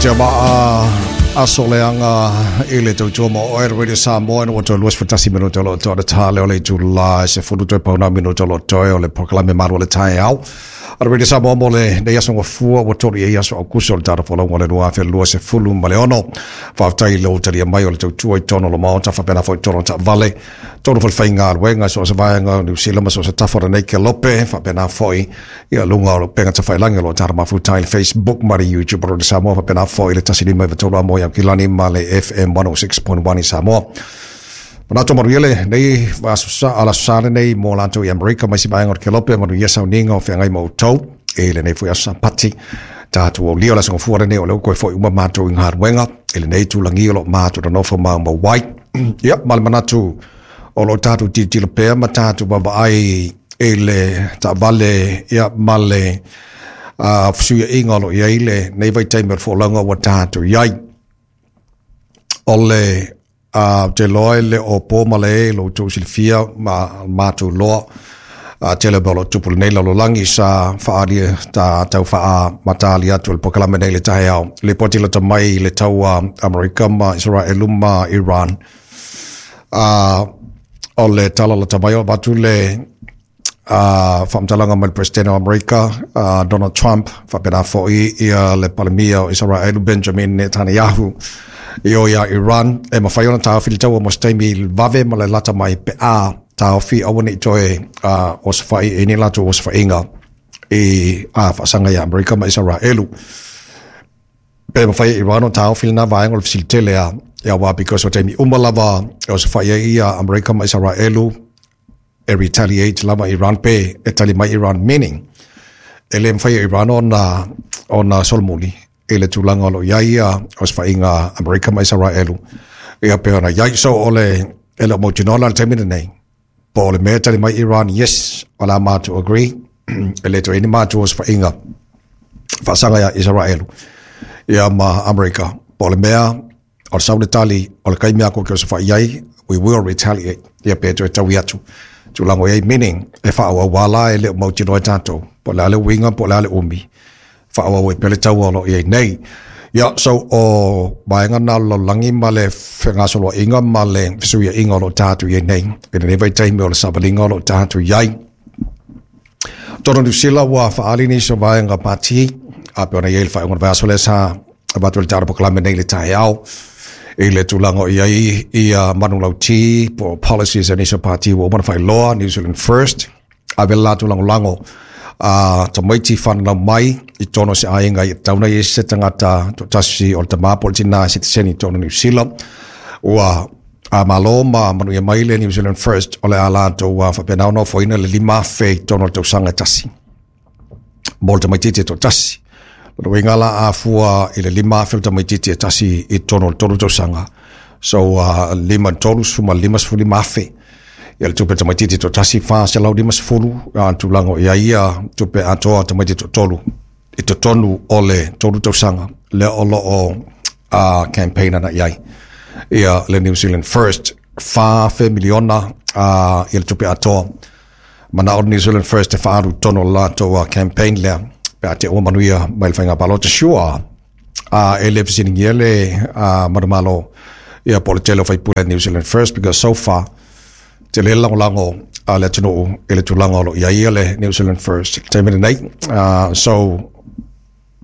Te maa aso leaga i le tautua ma oe Radio Samoa ina ua toe 21 minute o lo o toe ta le o le itula e 10 toe pauna minute o lo o toe o le polokalame malu o le taeao. A le Radio Samoa mo lenei aso gafua ua 3 i ai aso Aukuso o le tatou folauga o le 2026. Faafetai i lou talia mai o le tautua i totonu o le Maota faapena foi i totonu o taavale, totonu foi o le faigaluega i so o se vaega o Niu Sila ma so o se tafa o lenei kelope, faapena foi ia luga o upega tafailagi o lo o tatou mafuta ai le Facebook ma le YouTube o Radio Samoa, faapena foi le 159 a mo i Aukilani ma le FM 106.1 i Samoa. Manatu manuia lenei aso ala sa lenei mo latou i Amerika ma isi vaega o le kelope, manuia sauniga o feagai ma outou i lenei foi aso Sapati. Tatou aulia o le aso gafua lenei o lea ua toe foi uma matou i galuega i lenei itulagi o lo o matou nonofo maumau ai. Ia, ma le manatu o lo o tatou tilotilo pea ma tatou vaavaai i le taavale, ia, ma le fesuiaiga o lo o i ai lenei vaitaimi o le folauga ua tatou i ai. O le ou te iloa e le o po ma le e lo outou silafia ma matou loa tele mea o lo o tupu i lenei lalolagi sa faaali ta tau faamatali atu o le polokalame nei i le taeao. Lipoti lata mai i le taua Amerika ma Isaraelu ma Iran. O le tala lata mai o avatu le faamatalaga mai le President o Amerika Donald Trump, faapena foi ia le Palemia o Isaraelu Benjamin Netanyahu i o ia Iran e mafai ona taofi le taua mo se taimi vave ma le lata mai pe a taofi aua ne i toe osofai i ni latou osofaiga i faasaga ia Amerika ma Isaraelu. Pe mafai e Iran ona taofi lena vaega o le fesili tele a ia aua because o taimi uma lava e osofai ai ia Amerika ma Isaraelu e retaliate lava Iran pe e tali mai Iran, meaning e le mafai e Iran ona solomuli i le tulaga o lo o i ai ia osofaiga Amerika ma Isaraelu ia pe ona i ai. So o le e le o mautinoa la le taimi lenei po o le mea e tali mai Iran, yes, o le a matou agree e le toe i ai ni matou osofaiga faasaga ia Isaraelu ia ma Amerika, po o le mea o le sau le tali o le taimi a kou te osofai ai, we will retaliate, ia pe toe taui atu tulaga o i ai, meaning e faaauau la e le o mautinoa e tatou po o le a le uiga po o le a le umi faaauau ai pea le taua o lo o i ai nei. Ia, so o vaega na o le lalolagi ma le fegasoloaiga ma le fesuiaiga o lo o tatou i ai nei i lenei vaitaimi o le savaliga o lo o tatou i ai. Totonu o Niu Sila ua faaali nisi o vaega pati a pe ona i ai le faaiuga o le vaiaso lea sa avatu ai le tatou polokalame nei i le taeao i le tulaga o i ai ia manulauti po o policies a nisi o pati ua uma ona faailoa. New Zealand First ave le latou lagolago a tamaiti fananau mai i totonu o se aiga i tatau ona i ai se tagata toatasi o le tama po o le tina e sitiseni i totonu o Niu Sila. Ua a malo ma manuia mai le New Zealand First o le a latou faapena ona ofoina le 5,000 i totonu o le tausaga e tasi mo le tamaitiiti e toatasi. O le uiga la a fua i le 5,000 o le tamaitiiti e tasi i totonu o le 3 tausaga, so 5 3 suma 55,000 ia le tupe tamaitiiti toatasi, 450 tulaga o i ai ia tupe atoa tamaitiiti toatolu i totonu o le 3 tausaga lea o lo o campaign ana i ai ia le New Zealand First. 4 miliona ia le tupe atoa manao le New Zealand First e faaalu i totonu o le latou campaign lea pe a te ua manuia mai le faiga palota. Sure, e le fesiligia le manumalo ia po o le tele o faipule New Zealand First, because so far tele le lagolago a le atunuu i le tulaga o lo o i ai le New Zealand First i le taimi lenei. So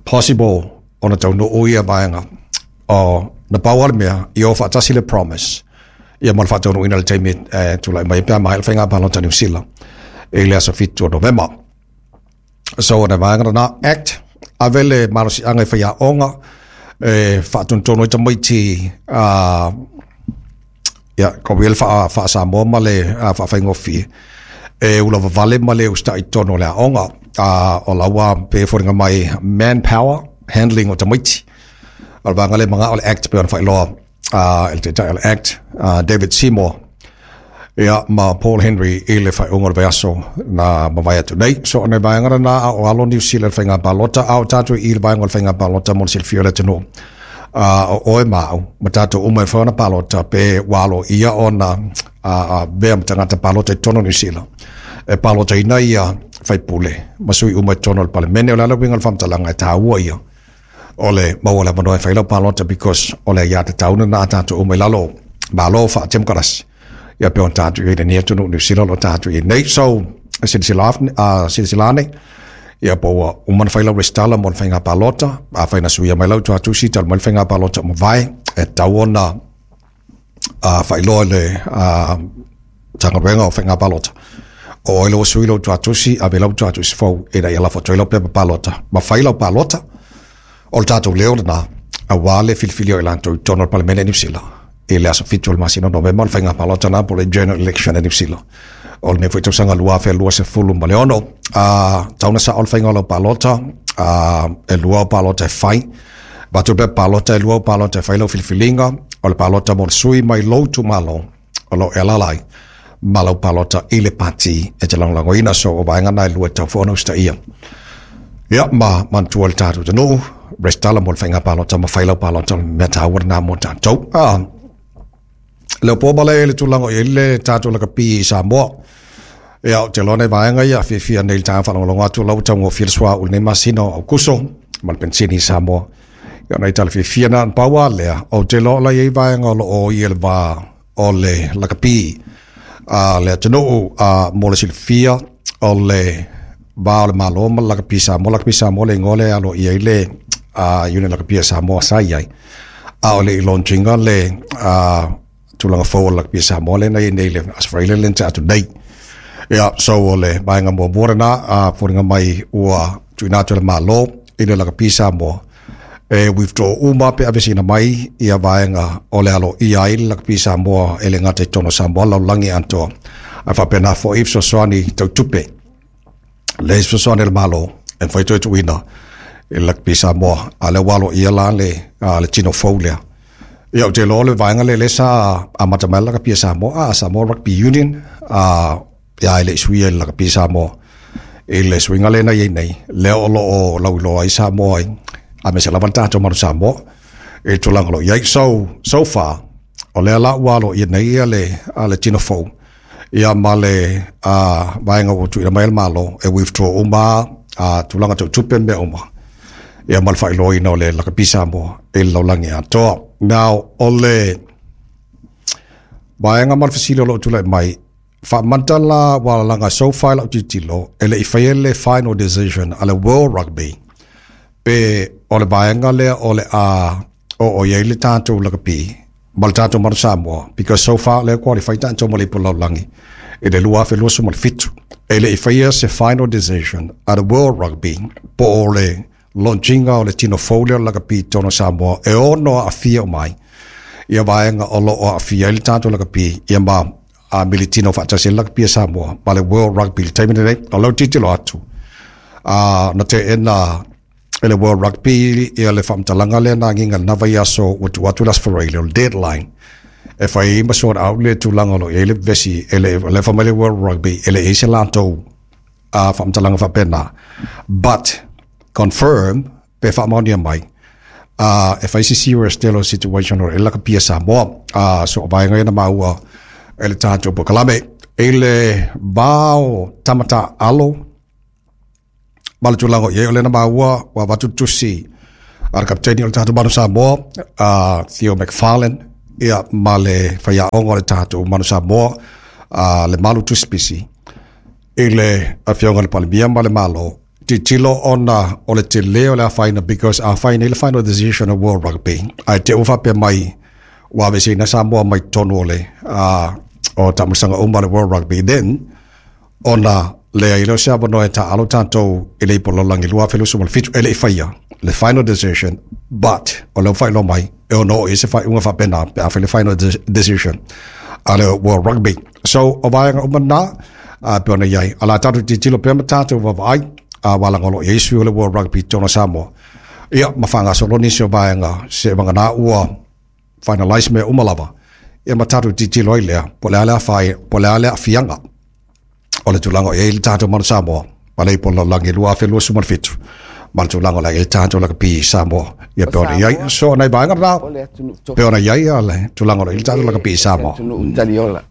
possible ona taunuu ia vaega o na pau lava le mea i o faatasi le promise ia ma le faataunuuina i le taimi e tulai mai pe a maea le faiga palota Niu Sila i le aso 7 o Novema. So o le vaega lena act ave le malosiaga i faiaoga e faatonutonu ai tamaiti ia ko le faa-Samoa ma le faafaigofie e ulavavale ma le usitai i totonu o le aoga. O la ua pei e foliga mai manpower handling o tamaiti. O le vaega lea manao le act pei ona faailoa e le taitai o le act David Seymour ia ma Paul Henry i le faaiuga o le vaiaso na mavae atu nei. So o le vaega lena a o alo Niu Sila i le faiga palota, a o tatou i le vaega o le faiga palota mo le silafia o le atunuu. O oe ma au ma tatou uma e mafai ona palota pe ua aloaia ona avea ma tagata palota i totonu o Niu Sila e palotaina ia faipule ma sui uma i totonu o le Palemene. O le a le uiga o le faamatalaga e taua ia O le maua le avanoa e fai lau palota because o le aiatatau lena a tatou uma i lalo o Malo faatemokarasi, ia pei ona tatou i ai i lenei atunuu Niu Sila o lo o tatou i ai nei. So, silasila silasila ane, ia po ua uma ona fai lau resitala mo le faiga palota. Afai na suia mai lau tuatusi talu mai le faiga palota ua mavae, e tatau ona faailoa i le Matagaluega o Faiga Palota o oe lea ua sui lou tuatusi, ave lau tuatusi fou ina ia lafo atu ai lau pepa palota ma fai lau palota. O le tatou leo lena aua le filifilia o i latou i totonu o le Palemene i Niu Sila i le aso 7 o le masina o Novema, o le faiga palota lena po o le general election i Niu Sila o lenei foi tausaga 2026. Tau na sao le faiga o lau palota, e lua au palota e fai. Avatu le pepa palota, e lua au palota e fai lau filifiliga, o le palota mo le sui mai lou itumalo o lo o e alaala ai, ma lau palota i le pati e te lagolagoina. So o vaega na e lua e tatau foi ona usitaia. Ia, ma manatua le tatou atunuu, resitala mo le faiga palota ma fai lau palota, o le mea taua lena mo tatou. Leo po male i le tulaga o i ai le tatou lakapi i Samoa. Ia, ou te iloa nai vaega ia fiafia nei i le taeao faalogologo atu o la ua taugofie le suauu i lenei masina o Aokuso ma le penisini i Samoa. Ia, o nai tala fiafia na. Na pau lava lea, ou te iloa o la e i ai vaega o lo o i le va o le lakapi a le atunuu. Mo le silafia, o le va o le Malo ma le lakapi Samoa, lakapi Samoa le igoa lea e aloaia ai le unit lakapi a Samoa sa i ai, a o le i launch ina le tulaga fou o le lakapi a Samoa lea na i ai nei i le Aso Faraile lea na tea atu nei. Ia, so o le vaega muamua lena, foliga mai ua tuuina atu e le Malo i le lakapi Samoa e withdraw uma pe aveseina mai ia vaega o le aloaia ai le lakapi Samoa e le gata i totonu o Samoa lalolagi atoa, ae faapena foi fesoasoani tau tupe le fesoasoani a le Malo e mafai toe tuuina i le lakapi Samoa, a o lea ua aloaia la le tino fou lea. Ia, ou te iloa o le vaega lea lea sa amata mai le lakapi a Samoa, Samoa Rugby Union, ia e le i suia i le lakapi Samoa. I le suiga lea na i ai nei, lea o lo o lauiloa ai Samoa ai, aemaise lava le tatou Manu Samoa i le tulaga o lo o i ai. So, so far, o lea la ua aloaia nei ia le tino fou, ia ma le vaega ua tuuina mai e le Malo e withdraw uma tulaga tau tupe ma mea uma, ia ma le faailoaina o le lakapi Samoa i le lalolagi atoa. Now, o le vaega ma le fesili o lo o tulai mai, faamata la ua laga so far i lau tilotilo, e le i faia le final decision a le World Rugby pe o le vaega lea o le a oo i ai le tatou lakapi ma le tatou Manu Samoa, because so far lea qualify tatou mo le Ipu Lalolagi i le 2027. E le i faia se final decision a le World Rugby po o le launching o le tino fou lea o le lakapi i totonu o Samoa e ono aafia uma ai ia vaega o lo o aafia ai le tatou lakapi, ia ma militino faatasi ai le lakapi a Samoa ma le World Rugby i le taimi lenei. O lau tilotilo atu, na teena e le World Rugby ia le faamatalaga lea na agiga i lena vaiaso ua tuu atu le Aso Faraile o le deadline e fai ai ma sort out le tulaga o lo o i ai le vevesi. E le o lea fai mai le World Rugby e le i ai se latou faamatalaga faapena, but confirm pe faamaonia mai e fai se serious tele o situation o le lakapi a Samoa. So o vaega ia na maua e le tatou polokalame i le va o tamata alo ma le tulaga o i ai. O lea na maua ua avatu le tusi a le kapiteni o le tatou Manu Samoa, Theo McFarlane, ia ma le faiaoga o le tatou Manu Samoa, le Malu Tusipisi, i le afioga i le Palemia ma le Malo, tilotilo ona o le tele o le afaina, because a fai nei le final decision o World Rugby ae te ua faapea mai ua aveseina Samoa mai totonu o le o taamilosaga uma o le World Rugby, then ona leai lea o se avanoa e taaalo tatou i le Ipu Lalolagi 2027. E le i faia le final decision, but o lea ua faailoa mai e ono oo i ai se faaiuga faapena pe a fai le final decision a le World Rugby. So o vaega uma na pe ona i ai o la tatou tilotilo pea ma tatou vaavaai, aua laga o lo o i ai sui o le World Rugby i totonu o Samoa, ia ma faagasolo nisi o vaega se vagana ua finalize mea uma lava, ia ma tatou tilotilo ai lea po o le a le afaina, po o le a le aafiaga o le tulaga o i ai le tatou Manu Samoa ma le Ipu o le Lalolagi 2027 ma le tulaga o le a i ai le tatou lakapi Samoa, ia pe ona i ai. So nai vaega na O le atunuu pe ona i ai le tulaga o lo o i ai le tatou lakapi i se Samoa. Atunuu taliola.